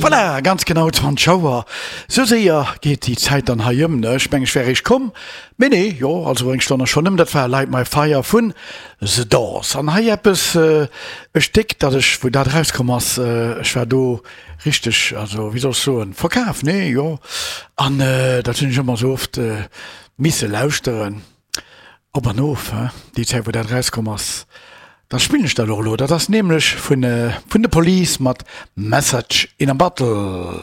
Voilà, ganz genau 20 Auer. Sou séier geet déi Zäit dann hei ëm, ne? Ech mengen, ech wär eréischt komm, mee nee, jo, also eng Stonn ass schonn ëm. Dat war Light My Fire vun The Doors. An hei eppes, e Stéck, dat ech, wou dat erauskomm ass, ech war do richteg, also wéi soll ech soen, verkaf, nee, jo. An dat hunn ech ëmmer sou oft misse lauschteren. Op an of, he? Déi Zäit wou dat erauskomm ass, da spillen ech dat och elo. Dat ass nämlech vun vun The Police mat Message in a Bottle.